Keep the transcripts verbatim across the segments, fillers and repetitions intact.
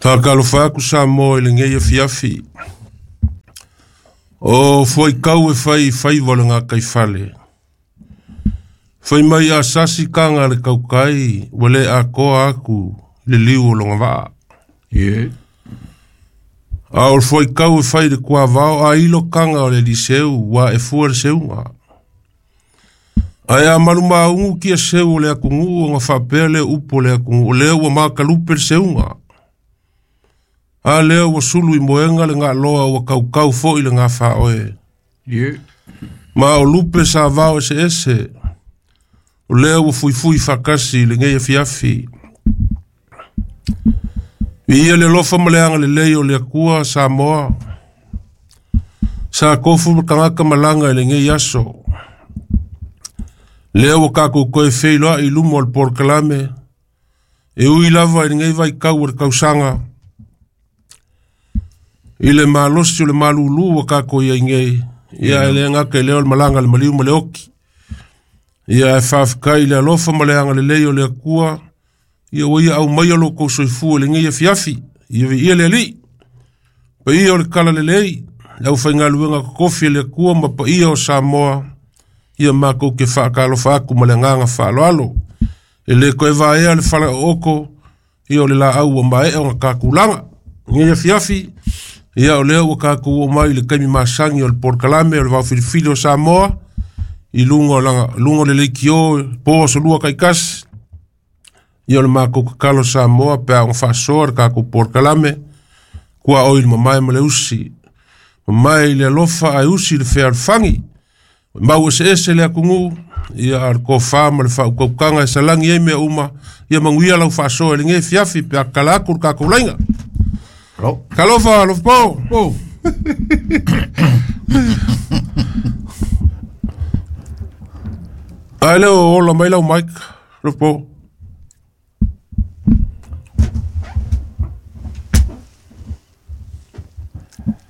Whakalofa aku Samoa i lenei afiafi. O fuaikau e fai faiva o le gataifale. Fai mai a sasi kaga a le kaukai, ua le atoa atu i le liu o lona vaa. Ie. A o le fuaikau e fai i le tuavao, a ilo kaga o le aliseu, ua e fua le seuga. Ae a malumaugu kia seu o le atunuu ona faapea lea upu o le atunuu, o lea ua makalupe le seuga. A lea ua sulu i moega le galoa ua kaukau foi le gafaoe. Ie. Ma o lupe sa vao eseese, o lea ua fuifui faatasi i lenei afiafi. Viia le alofa ma le agalelei o le Atua Samoa, sa tofu ma tagata malaga i lenei aso. Lea ua tatou toe feiloai i luma o le polokalame, e ui lava i lenei vaitau o le tausaga, i le malosi o le malulu ua tatou iai nei, ia e le gata i lea o le malaga a le maliu ma le oki. Ia e faafetai i le alofa ma le agalelei o le Atua, ia ua ia aumaia lo kou soifua i lenei afiafi, ia viia le Alii. Paia o le talalelei, le aufaigaluega totofi a le Atua ma paia o Samoa, ia matou te faatalofa atu ma le agaga faaaloalo. E le toe vaea le falaooko, ia o le laau ua maea ona tatulaga. Lenei afiafi, ia o lea ua tatou oo mai i le taimi masani o le polokalame o le vaofilifili o Samoa, i luga o laga, luga o le leitio, po aso lua taitasi. Ia o le matou tatalo Samoa pe a ona faasoa le tatou polokalame, tuaoi i le mamae ma le usi. Mamae i le alofa ae usi i le fealofani. Mau eseese le atunuu, ia a le tofa ma le faautautaga e salagi ai mea uma, ia manuia lau faasoa i lenei afiafi pe a tatala atu le tatou laina. Alo. Talofa, alofa po. Po. Ae lea o ola mai lau mic, alofa po.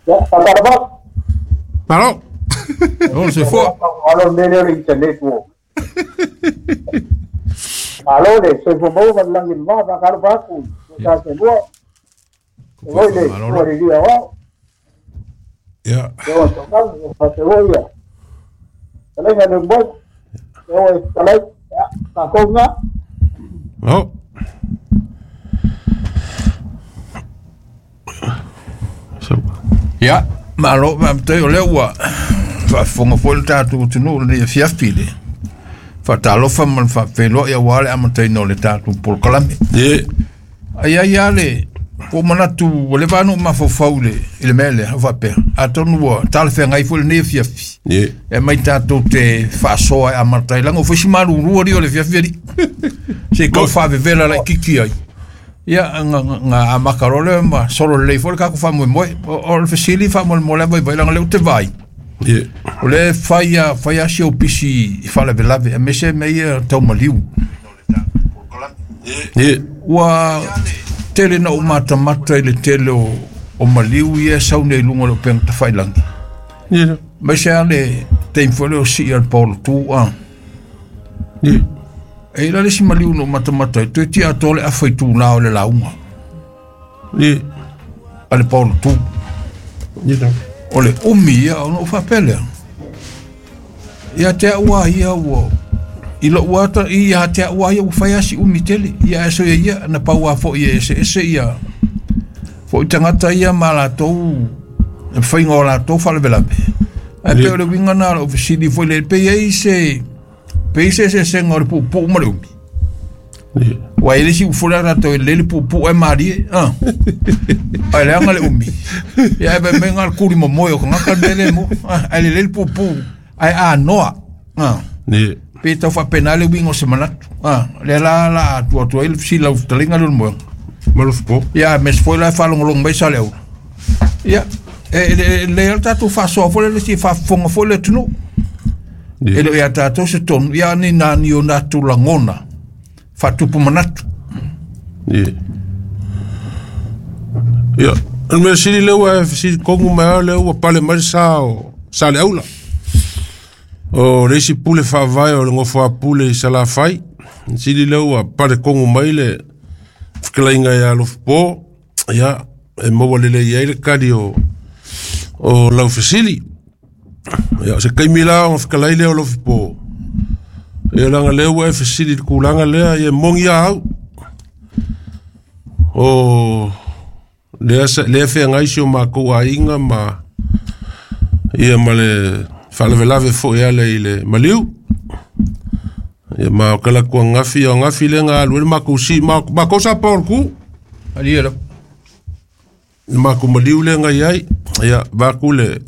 Ya, faatalofa. Malo. O se fua. Malo le mea lea o le internet ua. Malo le soifua maua ma le lagi o le va, faatalofa atu i sa selua. Oi le Malolo. ua le lia o. Ia. Lea ua tau, faatalofa ia. Talaga le moe. Lea ua talai. Ya, tatou ngā. Malo. So. Ia, malo faafetai o lea ua faafofoga foi le tatou atunuu i lenei afiafi i le faatalofa ma le faafeiloai aua le amataina o le tatou polokalame. Ie. Ai ai lava le ua ou manatu ua leva lava ona ou mafaufau i le i le mea lea o faapea, atonu ua talafeagai foi lenei afiafi Ie. e aumai tatou te faasoa e amata ai leaga ua fai si malulu alii o le afiafi alii se i tau faavevela laitiiti ai. Ia nga nga amata loa lea ma solo lelei foi le tatou faamoemoe. O o le fesili faamolemole lava vaivai leaga o lea ou te vaai Ie. o lea e fai a fai a si ou pisi i faalavelave aemaise mea ia tau maliu. Ie. Ua tele na ou matamata i le tele o o maliu ia e sau nei i luga o le upega tafailagi. Ie. Aemaise lava le taimi foi lea o sii a le paolotu a. Ie. E i ai la le isi maliu na ou matamata ai, toe tia atoa le afa i tula o le lauga Ie. a le paolotu. Ie. O le umi ia ona ou faapea lea. Ia te au lava ia ua i lou ata ia te au lava ia ua fai lava si umi tele. Ia ae soia ia na pau lava foi e eseese ia foi tagata ia ma latou le faiga o latou faalavelave. Ae pei o le uiga lena o lau fesili foi lea, pe i ai se pe i ai se eseesega o le puupuu ma le umi. Ie. Ua i ai le isi upu foi lea tatou e lelei le puupuu ae malie, a. Ae leaga le umi. Ia ae fai mai na o le tuli momoe o tagata le mea lea e maua. A, ae lelei le puupuu ae anoa. A. Ie. Pe tau faapena le uiga o se manatu. A, lea la la a atu atu ai le fesili lau fetalaiga lea o le moega. Malo po. Ia aemaise foi la e faalogologo mai Saleaula. Ia, e e e lelei lava le tatou faasoa foi lea le fia faafofoga foi le atunuu. E Ie. le o ia tatou se tonu, ia ni na ni o natou lagona faatupu manatu. Ie. Ia, o le mea sili lea ua e fesili tonu mai lava lea ua pale mai le sa o Saleaula. O le isi pule faavae o le nofo a pule i Salafai. Sili lea ua pale tonu mai le Fetalaiga ia Alofapo, ia e maua lelei ai le kali o o lau fesili. Ia o se taimi la ona fetalai lea o Alofapo. Ia leaga lea ua e fesili i le tulaga lea, ia e moni lava au. O lea sa lea feagai si o matou aiga ma ia ma le faalavelave foi e ala i le maliu. Ia ma o kala kua ngafi, o ngafi le nga alu e le makou si, ma makou sa pa o le ku. Alia la. Le makou maliu le nga iai, ia vaku le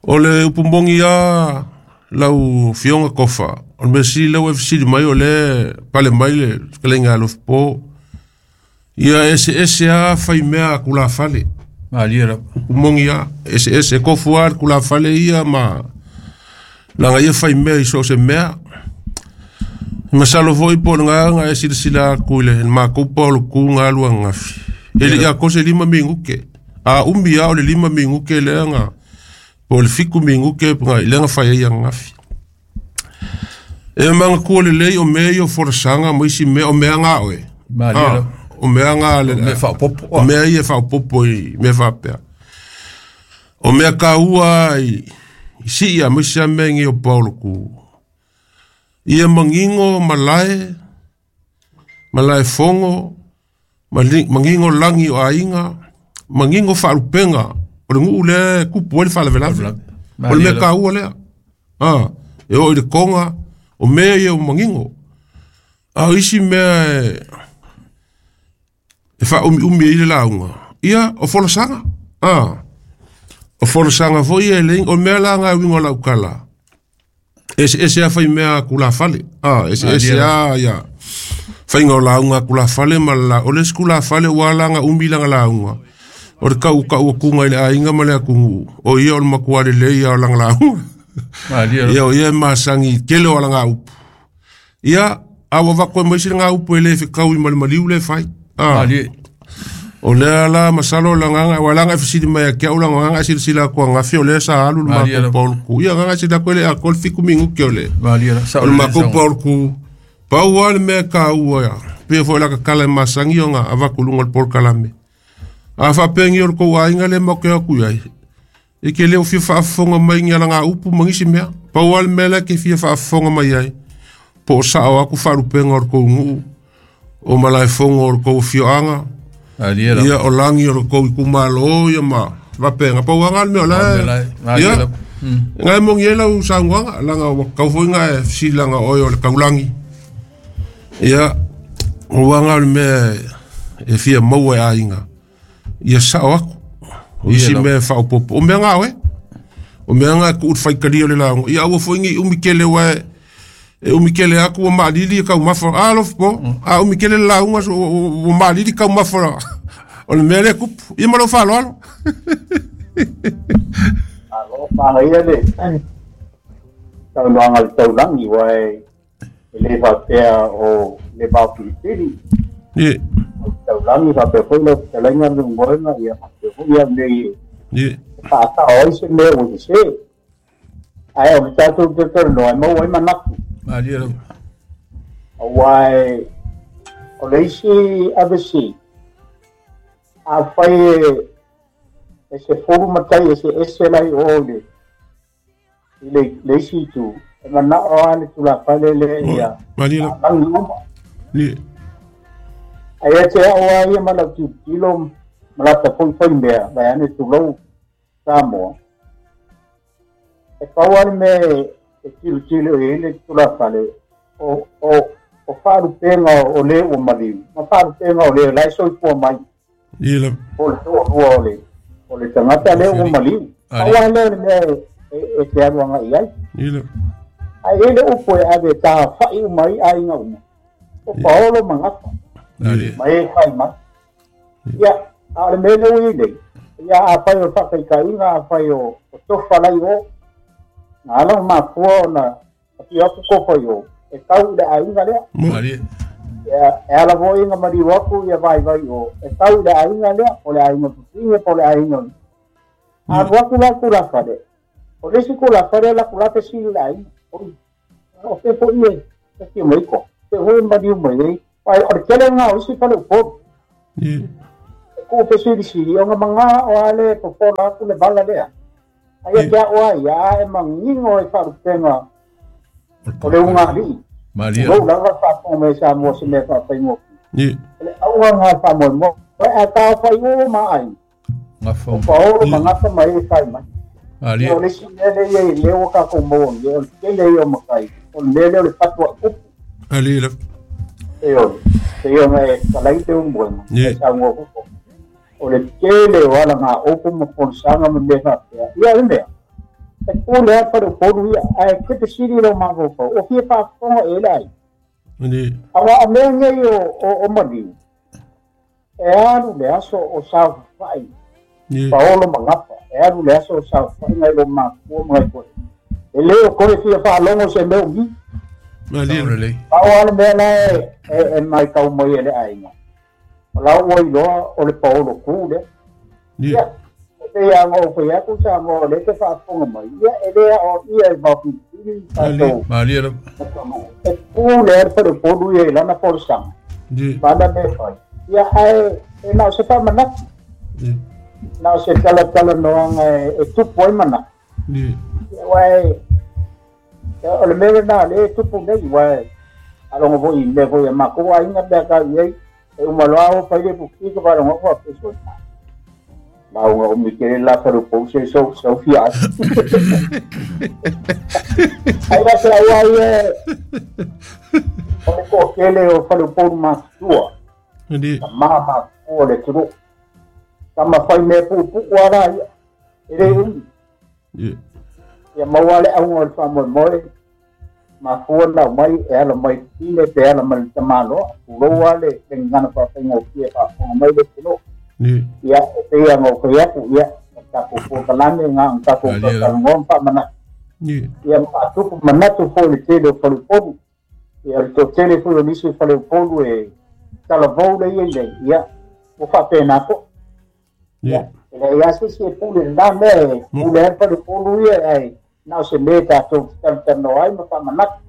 o le upu moni a lau fionga kofa. O le mea sili lau e fesili mai o le pale mai le fetalaiga Alofapo. Ia ese ese a fai mea kulafale. Alia la. Upu moni a ese ese kofu a kulafale ia ma langa ia fai mea i so o se mea. Masalo foi po o le gaga e silasila atu i le makou pa o le ku ga alu ananafi. E le i atoa se lima minute. A umi lava o le lima minute lea na po o le fitu minute lea na fai ai ananafi. E manatua lelei o mea ia o folasaga ma isi mea o mea ga oe. Malie la. O mea ga le Mea faaopoopo. O mea ia e faaopoopo i mea faapea. O mea taua i i sii ma isi lava mea nei o pa o le ku. Ia manino malae, malae fogo, manino lagi o aiga, manino faalupega o le nuu lea e tupu ai le faalavelave. O le mea taua lea. Ah, e oo i le toga, o mea ia o manino. A o isi mea e e faaumiumi ai le lauga, ia o folasaga. Ah, o folasaga foi ia e leai, o mea la na e uiga o lau tala, ese ese a fai mea tulafale. Ah, ese ese a ia faiga o lauga tulafale ma la o le isi tulafale ua ala ona umi lana lauga. O le kaukau atuga i le aiga ma le atunuu, o ia o le matua lelei ia o lana lauga. Malie la. Ia o ia e masani i tele o alanga upu. Ia, a ua avatu ai ma isi lana upu e le fetaui ma le maliu le fai. Ah, Malie. o lea la masalo o le agaga, aua leaga e fesili mai ia te au lana agaga e silasila atu ananafi o lea sa alu le Malie matou la. pa o le ku. Ia agaga e silasila atu e le atoa le fitu minute o le Malie la. Sao o le lelei matou saunoaga. pa o le ku. Pau lava le mea e taua ia, pei foi o le tatala e masani ona avatu i luga o le polokalame. A faapea o le tou aiga lea matou te o atu i ai, e ke le o fia faafofoga mai ni alaga upu ma nisi mea. Pau lava le mea lea e te fia faafofoga mai ai, po o sao atu faalupega o le tou nuu, o malaefogo o le tou afioaga, Malie la. ia o lagi o le tou itumalo, ia ma faapega. Pau lava le mea o O le la mea la e. Malie ia, la. nga e moni ai lau saunoaga, leaga ua tatau foi ona e fesili leaga oe o le taulagi. Ia, ua aga o le mea e fia maua e aiga, ia sao atu. O Ia isi la. mea e faaopoopo. O mea ga oe. O mea ga e tuu i le faitalia o le lauga. Ia aua foi nei umi tele aua e e umi tele atu ua maalili e taumafa. A Alofapo, a umi tele le lauga so ua maalili taumafa o le mea lea e tupu. Ia ma lou faaaloalo. Malo manaia le saunoaga a le taulagi aua e e le faapea o le vaofilifili. Ie, O le taulagi faapea foi lau fetalaiga le moega ia faapea foi ia mea e ie, faasao ai se mea ua sese. Ae o le tatou talanoa e maua ai manatu. Malie la. Aua e o le isi avesi, afai e e se fulu matai e se ese lai o le i le, le isi itu, e manao lava le tulafale lea o, ia malie la. lagi uma. Ie, Ae ia te au lava ia ma lau tilotilo ma lata foi fai mea, vaeane tulou Samoa. E pau lava le mea e e tilotilo i ai le tulafale, o, o, o faalupega o le ua maliu, ma faalupega o le la e soifua mai, ie la. po o le toalua o le, o le tagata lea ua maliu. Pau Malie. lava lea o le mea e, e, e te alu agai ai. Ie la. Ae i ai le upu e ave e tafai uma ai aiga uma, o paolo ma gafa, Malie. ma e fai mai. Ia, a o le mea lea ua i ai nei, ia afai o le faataitaiga, afai o, o tofa lai o, na ala ona mafua ona afio atu tofa i o, e tau i le aiga lea. Mo, Malie. Ia, e ala foi ona maliu atu ia vaivai o, e tau i le aiga lea, o le aiga pupige po o le aiga. A alu atu la tulafale, o le isi tulafale la latou fesili i le aiga, oi, o fe foi e, e fia mai ko, fe foi e maliu mai ai, Ai o le tele nga o isi faleupolu. Ie. E ku fesilisili o nga o ale popola aku le vala lea. Ai e te ao ai a e mangingo e faalupenga o le ugalii. Malia. Lou lava faafofoga mai Samoa se mea faafaigofie. Ie. O le auga faamoemoe a taofai uma ai. Gafa. O paolo ma gafa mai e fai mai. Malia. O le isi mea lea e i ai lea ua tatou maua nei, o le tele ia o matai, o le mea lea o le fatu a upu. Ali la. E ole, e ona e talai te umuena, Ie. e saunoa foi. O le tele o ala ngā upu ma folasaga ma mea faapea. Ia o le mea, e pule a faleupolu ia, ae te fesili lou mafaufau, o fia faafofoga e le ai. Ali. Aua o mea nei o, o, o maliu, e alu le aso o saofafai, Ie. paolo ma gafa, e alu le aso o saofafai ngai lou mafua ma ngai koe. E le o koe fia faalogo se mea umi. Ali Sao la. lelei. Pau lava le mea la e, e, e matau mai e le aiga. O lau ua iloa o le paolo ku lea. Ie. Ia, e pei lava ona ou fai atu Samoa o lea te faafofoga mai. Ia, e le ao ia e maopilipili tatou Malia lava. atunuu. E pu lea le faleupolu ia i lana folasaga. Ie. Ma ana mea fai. Ia, ae e na o se faamanatu. Ie. Na o se talatalanoaga e, e tupu ai manatu. Ie. Ia, aua e, o le mea lena o lea e tupu nei, aua e alogo foi i mea foi a matou aiga pe a tau i ai, e uma loa o fai le puki ka faalogo faapea lauga umi tele la faleupolu se sau sau fia ai. Ai la se au ai e o le toatele o faleupolu matutua, Ali. tamā matutua o le atunuu. Tama fai mea puupuu lava ia, e le umi. Ie. Ia maua le auga o le faamoemoe, mafua ona aumai e ala mai tine pe ala mai le tamaloa, tulou lava le le gagana faafaigofie e faafofoga mai le atunuu. Ie. Ia, e pei ona ou fai atu, ia, o tatou polokalame ga ona tatou Malie lava. talanoa ma faamanatu. Ie. Ia ma faatupu manatu foi i le tele o faleupolu. Ia, o le toatele foi o nisi o faleupolu e talavou lea i ai nei, ia, ua faapena foi. Ie. Ia, e leai lava se isi e pule i lena mea e pule ai le faleupolu ia, ae na o se mea tatou te talatalanoa ai ma faamanatu.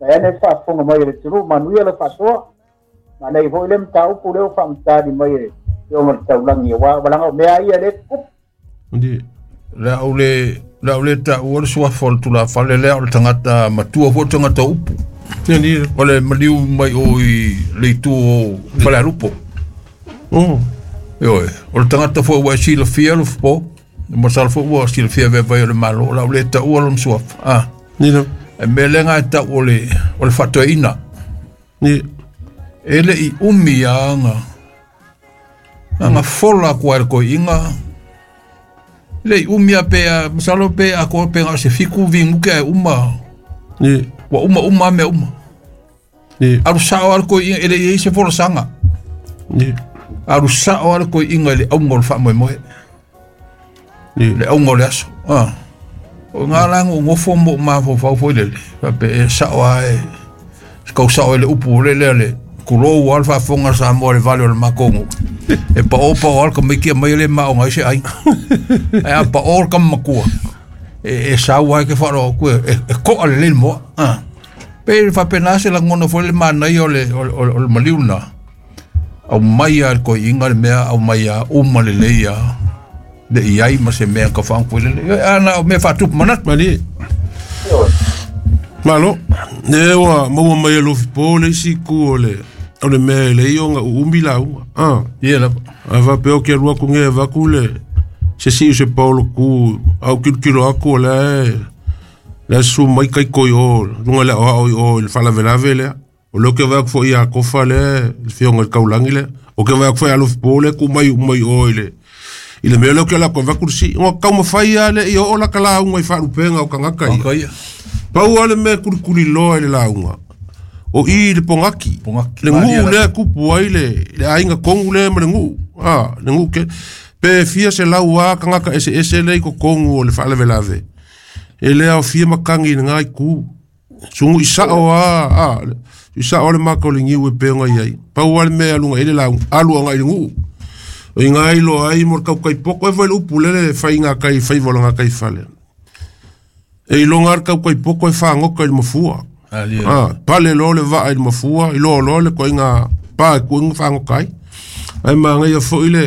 Vae ane le faafofoga mai e le atunuu, manuia le faasoa. Manaia foi le mataupu lea ua faamatali mai e le afioga i le taulagi, aua walaga o mea ia le tupu. Ali. Le au le le au le taua le suafa o le tulafale lea o le tagata matua foi le tagata upu. Ali. O le maliu mai o i le itu o Falealupo. Oh. Ioe, o le tagata foi ua e silafia Alofipo, masalo foi ua silafia vaevae o le Malo, o le au le taua lona suafa. Ah, Ni la. e mea lea e tau o le, o le faatoeaina. Ni. E le i umi ia aga. Aga fola aku ai le koiiga. Le i umi a pe a, masalo pe a ko pe ga se fiku vinguke ai uma. Ni. Ua uma uma a mea uma. Ni. Alu sao a le koiiga e le i ai se folasaga. Ni. Alu sao a le koiiga i le auga o le faamoemoe. Ni. Le auga o le aso. Ah. O ngā lango ngofo mo mafaufau foi lele. Faapea e sao a e se kau sao e le upu o le lea le kulou a le faafofoga a Samoa i le vale o le makongo. E pao pao a le kamaiti mai le maoga ai se ai. Ae a pao le kamamakua. E, e sau ai ke wharoa ku e, e, e koa le le moa. Ah. Pe faapena se lagona foi le manaia o le, o, le- o, le- o le maliu na. Au mai a le koiiga le mea au mai a uma lelei a le i ai ma se mea ka whaangu le le. Ana o mea whaatupu manatu. Mali. Ioe. Malo. Ne ua maua mai e Alofipo le isi ku o le o le mea e le o nga uumi lauga. Ah. Ia lava. A faapea o ke alu aku ge avaku le se siu se paolo ku au kilokilo aku o le le su mai kai koi o luga le aoao i o i le faalavelave lea. O lea o ke vaai atu foi ia Kofa lea le fioga i le taulagi lea. O ke vaai atu foi Alofipo lea ku mai uma i o i le i le mea lea o ke ala atu avaku le sii. Ua taumafai lava le i oo laka lauga i faalupega o tagata ia. Ka ia. Pau lava le mea e kulikuli loa i le lauga. O i le pogaki. Pogaki. Le Malia guu lava. lea e kupu ai le, le aiga kogu lea ma le guu. Ah, le guu ke. Pe fia se lau a tagata eseese lea i totonu o le faalavelave. E le aofia matagi i lena itu. Sugu i sao a, a, i sao le maka o le niu e pei ona i ai. Pau lava le mea e aluga ai le lauga, alu agai i le guu. O iga ai loa ai mo le kaukaipoko e foi le upu lele faiga kai faiva o laga kai fale. E iloga lava le kaukaipoko e fagoka i le mafua. Ah, pale lo le vaa i le mafua, i loa loa le koiga pa e kuiga fagokai. Ae magaia fo'i le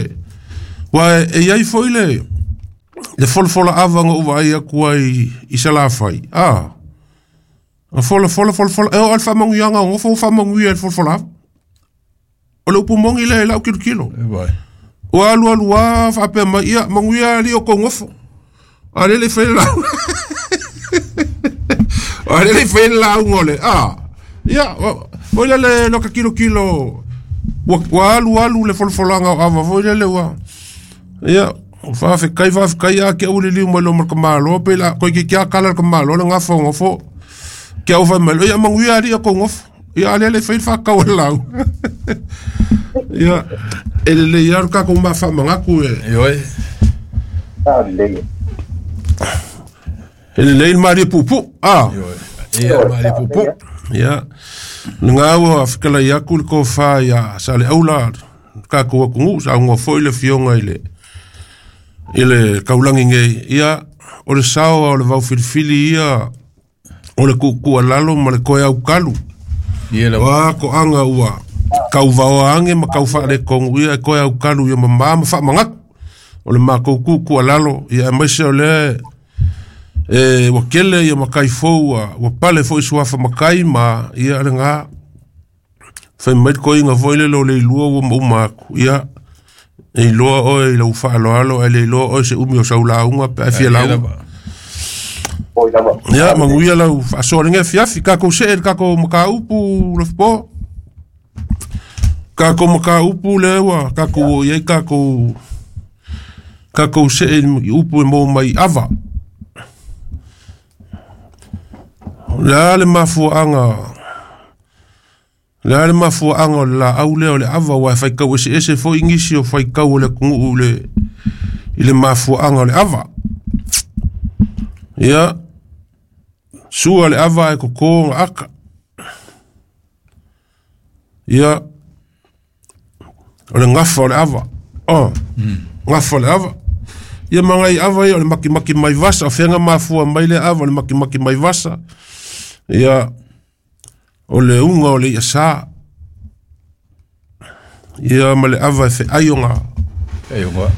ua e iai fo'i le le folafola ava na ou vaai atu ai i Salafai. Ah, a fola fola fola fola e oo le faamanuiaga o gofo ua faamanuia i le folafola ava. O le upu moni lea i la'u kilokilo. Ua alu alu a faapea mai ia manuia alii o kou gofo. A lele fai le lauga. A lele fai le lauga o le a. Ia, foi lele lo ka kilokilo ua ua alu alu le folafolaga o ava foi lele ua. Ia, faafetai faafetai a ke uli liu mai lo ma ka malo pe la koi ke kia kala ka malo le ngafa o gofo. Ke au fai mai ia manuia alii o kou gofo. Ia a lele fai le faakau e le lauga. Ia, e lelei lava le tatou mafaamagaku e. Ioe. Lelei. E lelei le malie puupuu. Ah. Ioe. Ia malie puupuu. Ia. Lena ua fetalai atu le tofa ia Saleaula tatou atunuu saunoa foi le afioga i le i le taulagi nei. Ia, o le sao o le vaufilifili ia o le tuutuualalo ma le toe aukalu. Ia O lava. a toaga ua kauvaoa age ma kaufaaletonu ia e toe aukalu ia mamā ma faamagatu. O le matou tuutuualalo ia aemaise o lea e ua kele ia matai fou ua ua pale fo'i suafa matai ma ia lena fai mai le toeiga foi lele o le ilua ua mauma atu. Ia, e iloa oe i lau faaaloalo ae le iloa oe se umi o sau lauga pe a fia Ia lauga. lava. Foi lava. Ia, manuia lau faasoa lenei afiafi. Tatou see i le tatou mataupu Lefipo. Tatou mataupu lea ua tatou oo i ai tatou tatou see i upu e maua mai ava. O le a le mafuaaga le a le mafuaaga o le laau lea o le ava ua e faitau eseese foi nisi o faitau o le atunuu i le i le mafuaaga o le ava. Ia, sua le ava e koko ga aka. Ia, o le gafa o le ava. Oh, gafa o le ava. Ia magai ava ia o le makimaki mai vasa, o fega mafua mai le ava o le makimaki mai vasa. Ia, o le uga o le iasā. Ia ma le ava e feai o ngā. Ai o ngā.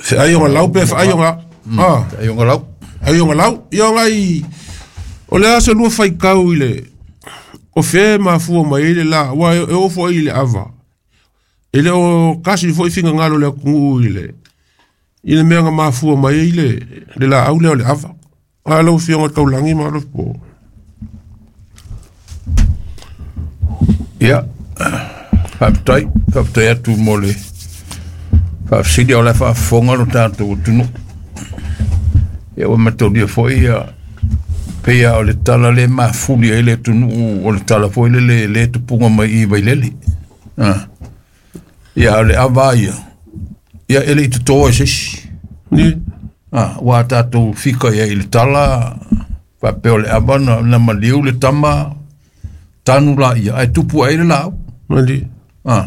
Feai o ngā lau pe feai o ngā. Ah, Ai o ngā lau. ai o ngā lau. Ia ngai, o le a se lua faikau i le, o fe mafua mai i le la, ua e, e ofo ai i le ava. E le o kasi foi fingangalo le atunuu i le, i le mea nga mafua mai ai le, le laau lea o le ava. A lau afioga i le taulagi ma Lefipo. Ia. Faafetai, faafetai atu mo le faafesili o le faafofoga lo tatou atunuu. Ia ua mataulia foi ia peia o le tala le mafuli ai le atunuu o le tala foi le le le tupuga mai i Vailele. Ah. Ia o le ava ia. Ia e le i totoa e se isi. Ni, Ah, ua tatou fika ia i le tala faapea o le ava na, na maliu le tama tanu la ia ae tupu ai le laau. mali. Ah.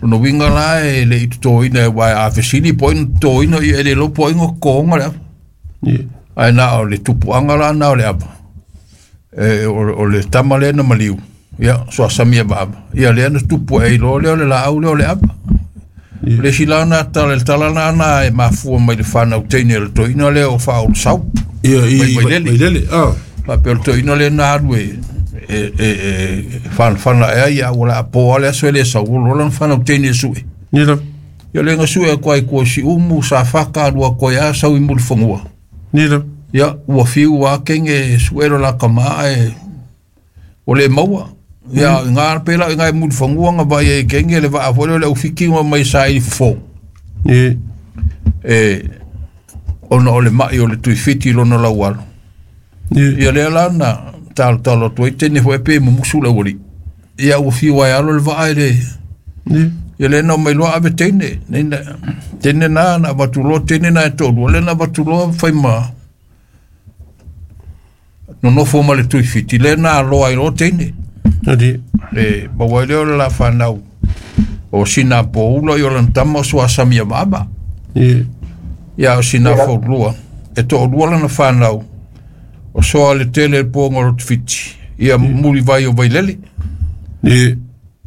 Lona uiga la e le i totoina e uae a fesili po o ai na totoina ia e le iloa po o ai na totoga le ava. Ni, Ae na o le tupuaga la na o le ava. E, o, o le tama lea na maliu. Ia, soasami avaava. Ia lea na tupu ai loa lea o le laau lea o le ava. Ia. Le isi la na tala, le tala na na e mafua mai le fanau teine o le toeaina lea o Faaolasau. Ia, i Mai Vailele. Vailele. Ah, Faapea o le toeaina lea na alu e e e e fanafana ea ia ua le apo le aso e le sau ua loa lana fanau teine e sue. ni la, Ia le sue atu ai kua siumu sa faka alua koe a sau i mulifanua. ni la. Ia ua fiu a kenge e sue lo la kama e o le maua. Ia ngā pela i ngā mulifanua ngā vai e kenge le vaa foi le ufiki ngā mai sa i fofo. Ni, E ona o le mai o le tuifiti lona lau alo. ni, Ia lea la na talo talo atu ai tene foi pe mumusu le uali. Ia ua fiu ai alo le vaa e le ni, Ia le na mai loa ave teine. Nei na teine na na avatu loa teine na e tolu. Le na avatu loa fai ma nonofo ma le tuifiti. Le na aloa ai loa teine. ni, E maua ai lea o le la whanau. O sina pōula i o lana tama o suasami a maama. ni, Ia o sina fōlua. E to'olua lana whanau. O soa le tele le pōnga o le fiti. Ia Mulivai o Vailele. Ia.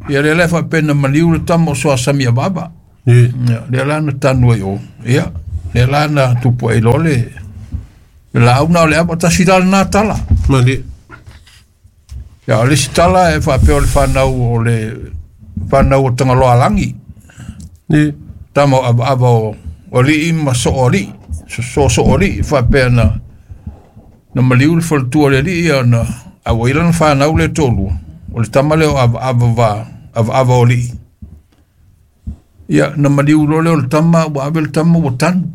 Ia lea la faapea na maliu le tama o Soasamia Vava. Ia. Lea la na tanu ai o. Ia. Lea la na tupu ai loa le laau na o le ava tasi la lena tala. Malie. Ia o le isi tala e faapea o le fanau o le fanau o Tagaloalagi. Ia. Tama o avaava o o alii ma soo alii. So soo alii faapea na na maliu le faletua o le alii ia na a ua i lana fanau le toalua. O le tama lea o avaava va avaava o alii. Ia na maliu loa lea o le tama ua ave le tama ua tanu.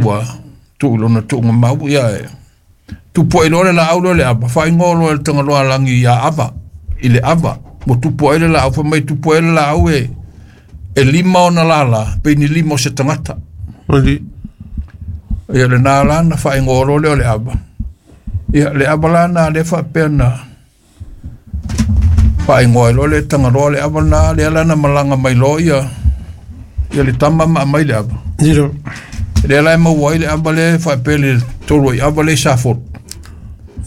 Ua tuu i lona tuugamau ia e tupu ai loa le laau lea o le ava faaigoa loa e le Tagaloalagi ia Ava i le ava ua tupu ai le laau fai mai tupu ai le laau e e lima ona lala pe ni lima o se tagata. Malie. Ia lena la na faaigoa loa lea o le ava. Ia le ava la na lea faapea na faaigoa ai loa le Tagaloa le ava lena lea la na malaga mai loa ia ia le tama ma aumai le ava. Ia. Lea la e maua ai le ava lea faapea le tolu ai ava lea i Safotu.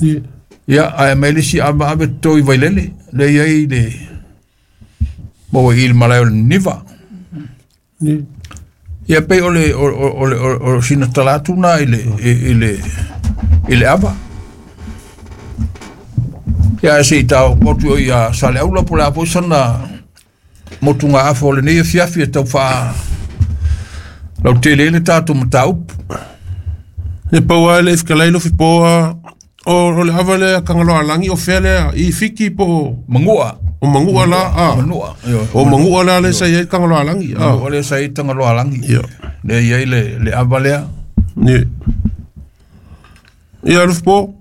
Ia. Ia ae aumai le isi ava ave toto i Vailele lea i ai le maua i le malae o le Niniva. Ia. Ia pei o le o o o o sina tala atu na i le i le i le ava. Ia se i tau motu o ia Saleaula po o le a foi sana motugaafa o lenei afiafi e tau faa lautele ai le tatou mataupu. Ia pau lava le ifetalai lofi po o o le ava lea Tagaloalagi o fea lea i Fiti po o Manua. O Manua la a. Manua. O Manua la lea sa i ai Tagaloalagi. Manua lea sa i ai Tagaloalagi. Ia. Lea i ai le le ava lea. Ia. Ia lofi po.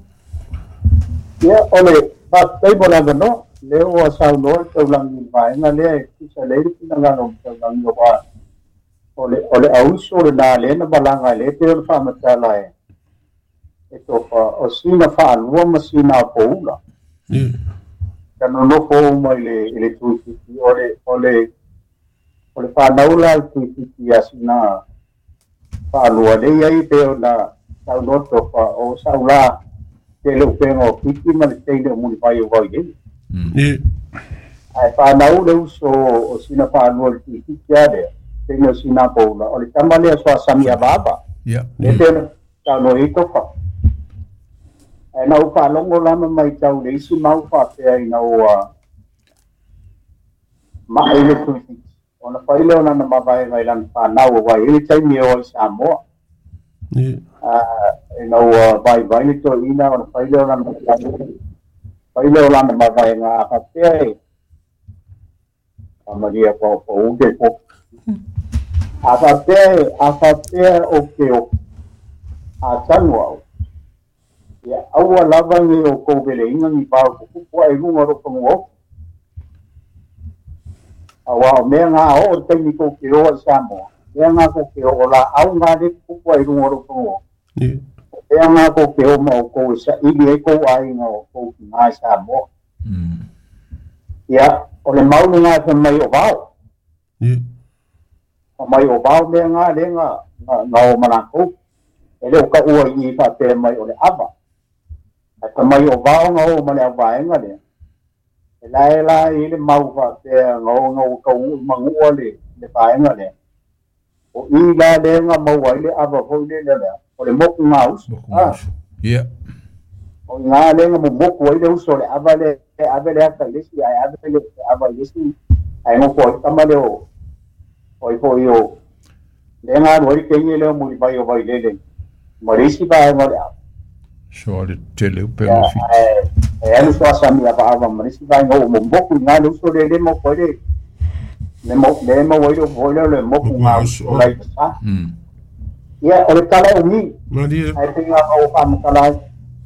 Ia o le faafetai mo le avanoa lea ua saunoa le taulagi i le vaega lea e tusa lelei le finagalo o le taulagi aua o le o le auso lena lea na malaga ai lea pei ona faamatala e e tofa o sina faalua ma sina poula. Ia. Ka nonofo uma i le i le Tuifiti o le o le o le fanau la i Tuifiti ia sina faalua lea i ai pei ona saunoa tofa o saula tele upega o Fiti ma le teine o Mulivai o Vailele. Ia. Ae fanau le uso o sina faalua i le Tuifiti a lea teine o sina poula o le tama lea Soasamia Vava. Ia. Lea pei ona saunoa ai tofa. Ae na ou faalogo lava mai tau le isi mau faapea ina ua ma'i le Tuifiti ona fai lea o lana mavaega i lana fanau aua e i ai le taimi e o ai Samoa. Ia. Ina ua vaivai le toeaina ona fai lea o lana fai lea o lana mavaega a faapea e faamalie paopao ke po. A faapea e a faapea o ke o a tanu au. Ia aua lava nei o kou veleiga ni vao tutupu ae i luga o lou fanua ofi. Auā o mea gā oo le taimi kou te o ai Samoa, mea gā kou te oo laau gā le tutupu ae i luga o lou fanua ofi. Ia. O mea gā kou te o ma outou e saili ai kou aiga o kou tinā i Samoa. Ia, o le mau lena e fai mai o vao. Ia. Fai mai o vao mea gā lea na na o ma latou. E le o taua i i faapea mai o le ava. Ae fai mai o vao na o ma le auvaega lea. E la e la i le mau faapea na o na o taunuu i manua le le vaega lea. O i la lea na maua ai le ava foi lele lea. O le moku ngā uso. Moku ngā uso. Ia. O i ngā lea na momoku ai le uso o le ava lea e ave le ata i le isi ae ave le ava i le isi ae nofo ai tama lea o o i foi o lea na alu ai le teine lea o Mulivai o Vailele ma le isi vaega o le ava. So le tele upe Ia, o Fiti. ae e alu Soasamia Vaava ma le isi vaega o momoku i ngā le uso lea le moku ai le le mo le maua ai le upu foi lea o le moku Moku ngā ngā uso uso. o lai sa. Mm. Ia, o le tala e umi. Malie. Ae pei ngā o faamatala ai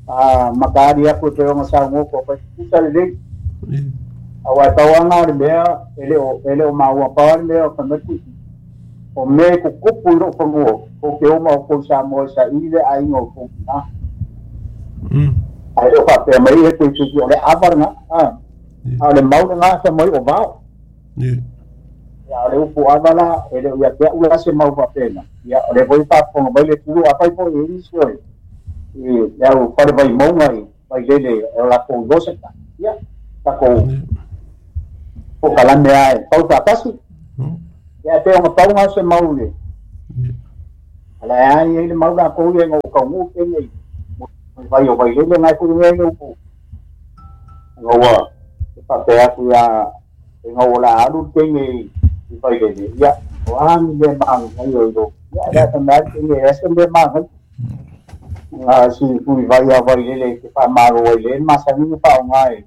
a makaali aku e pei ona saunoa ko fai tusa lelei. Ia. Auā e pau aga o le mea e le o e le o maua pau lava le mea o fai mai le o mea e kukupu i lou fanua kou te oma o kou Samoa e saili le aiga o kou tinā. Mm. Ae le o faapea mai e Tuifiti o le ava lena a Ia. a o le mau lena fai mai o vao. Ia. Ia o le upu ava la e le o ia te a'u la se mau faapena. Ia o le foi faafofoga mai le tulu afai foi e isi o le i le au fale vaimauga i Vailele o lakou ioseta ia takou pokalame a e pau faatasi ia pe ona pauga se mau le ala e ai ai le mau lakou ia ina ua tauguu kene i vai o Vailele gae fo'i mea ia ua ina ua faapea atu ia ina ua la alu le teine i Vailele ia o a ni mea magai o ilo ia le a mea teine e ese mea magai nga si pui vai a Vailele ke faamalo ai le masani faaaoga e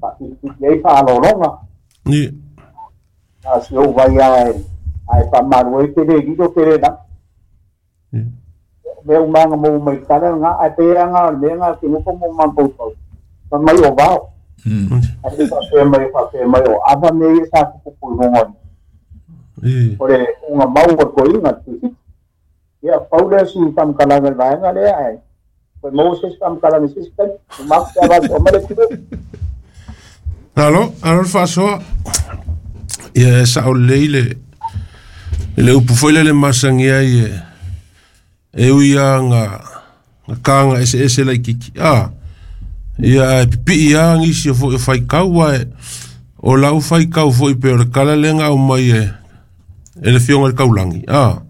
faapipii ai faalologa a si ou vai a e ae faamalu ai ke lē lilo ke lē lagi mea umaga mo mai tala nga ae pei aga o le mea ga ke nofo mo mafaufau fa mai o vao ae le faapea mai faapea mai o ava mea ia sa tupupu i luga o le uga mau o le koiga le ia pau lea si faamakalaga i le vaega lea ae koe maua se isi faamakalaga i se isi taimi maku pe avatu o ma le tilo. Alo, alo le faasoa. Ia e sao lelei le le upu foi lea le masagi ai e e ui a ga ga kaga eseese laikiki a ia e pipii a gisi o fo'i o faikau ae o lau faikau fo'i pe o le kala lega aumai e e le fioga i le kaulagi a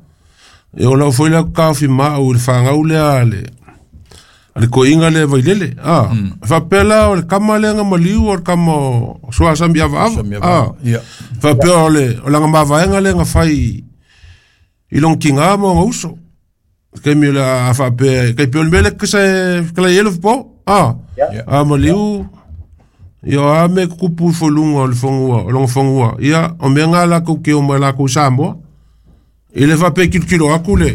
e o lau foi lea kaofi maau i le fagau lea a le a le koiga lea Vailele a faapea la o le kama lea ga maliu o le kama o Suasami avaava a faapea o le o laga mavaega lea ga fai i loga tigā ma ona uso taimi o le a faapea kai pe o le mea lea kasa e kala i ai le fopo a a maliu ia o a mea kukupu i foluga o le fagua o loga fagua ia o mea ga lakou ke o mai lakou Samoa i le faapea kilokilo aku le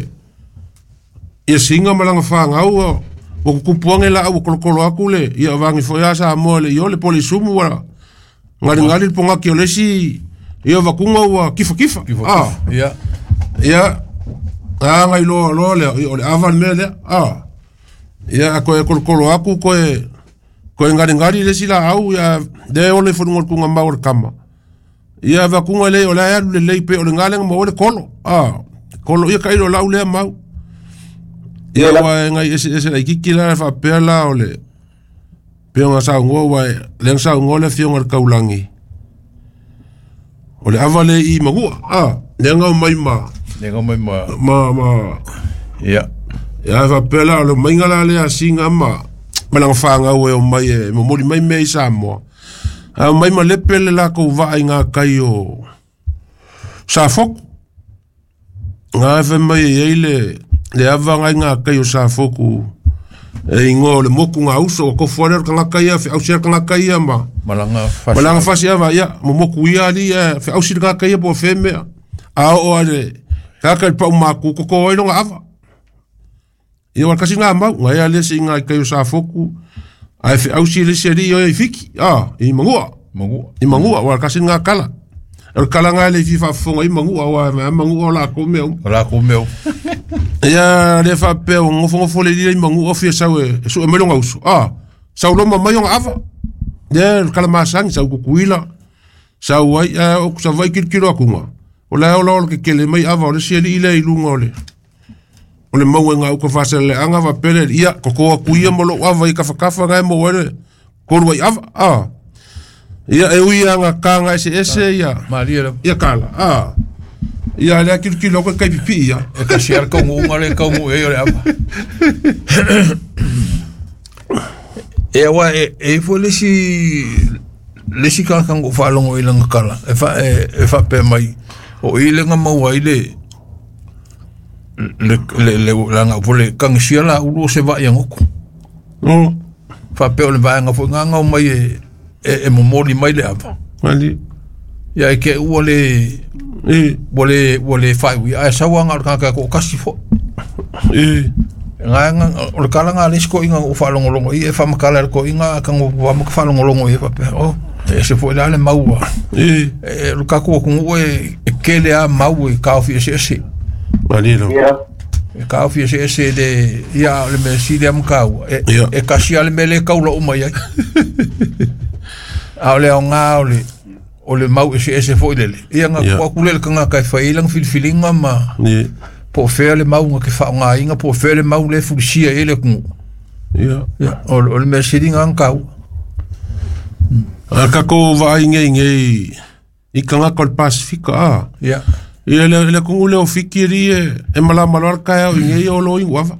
ia siga ma laga fagau ua kukupu age laau ua kolokolo aku le ia avagi foi a Samoa le iole po o le isumu ua galigali le pogaki o le isi ia vakuga ua kifakifa a ia aga iloa loa lea ia o le ava le mea lea a ia a koe kolokolo aku koe koe galigali le isi laau ia lea ola i foluga o le tugamau o le kama ia vakuga lea o le alu lelei pe o le galega maua le kolo a kolo ia kailo lau lea mau ia ua e gai eseese laikiki la faapea la o le pea saugoa ua lea saugoa le afioga i le kaulagi o le ava le i magua a lea gao mai ma lea mai ma ma ma ia ia faapea la o le maiga la lea siga ma ma laga fagau e o mai e momoli mai mea i Samoa a mai ma lepe le lakou vaa i gakai o Safoku ga e fai mai e ai le le ava ngai gakai o Safoku e igoa o le moku gauso o kofu ale o le tagata ia feausi a le tagata ia ma malaga fasi malaga fasi ava ia momoku ia ali e feausi le tagata ia po o femea a oo ale kaka i le pau maku koko ai loga ava ia o le kasi ga mau gae a le siga i kai o Safoku ae feausi le isi alii oe i Fiki a i Magua Magua i Magua ua le kasi ga kala o le kala ga le i faafofoga i Magua ua e Magua o lakou mea uma o lakou mea uma ia le faapea ua gofogofo le lila i Magua fia sau e su'e mai loga uso a sau loma mai ona ava lea le kala masagi sau Kukuila sau ai ae o sava'i kilokilo akuga o la e ola o le kekele mai ava o le isi alii lea i luga o le o le maua i gauka faaseleaga faapea le ia koko aku ia ma lou ava i kafakafa gae maua ai le kolu ai ava a ia e ui aga kaga eseese ia malie lava ia kala a ia lea kilokilo aku e kai pipii ia e kasi a le kauguuga le kauguu ai o le ava e aua e e ifo le isi le isi tagata na ou faalogo i lana kala e fa e e faapea mai o i lega maua ai le le le le lana po le kagisia la ulu o se vaai agoko o faapea o le vaega foi gaga o mai e e e momoli mai le ava ali ia e ke ua le e ua le ua le faaiuia ae sau aga o le tagata e to'atasi fo'i e gaega o le kalaga a le isi ko'iga ou faalogologo i e faamatala e le ko'iga tago ma ka faalogologo i faapea o e ese fo'i la le maua e e o le tatou atunuu e e kele a mau e taofi eseese ali lo Ia e taofi eseese le ia o le mea sili a mataua e Ia. e kasi a le mea lē taula uma i ai a o le aogā o le o le mau eseese fo'i lele ia na Ia. tuu atu lea i le tagata e fai ai lana filifiliga ma e po o fea le mau na ke faaaogāina po o fea le mau lea e fulisia i ai le atunuu Ia. Ia, o o le mea sili lena ona taua. A tatou vaai nei nei i tagata o le Pasifika a. Ia. Ia le le atunuu lea o Fiti alii e e malama loa le taeao i nei o lo inu ava.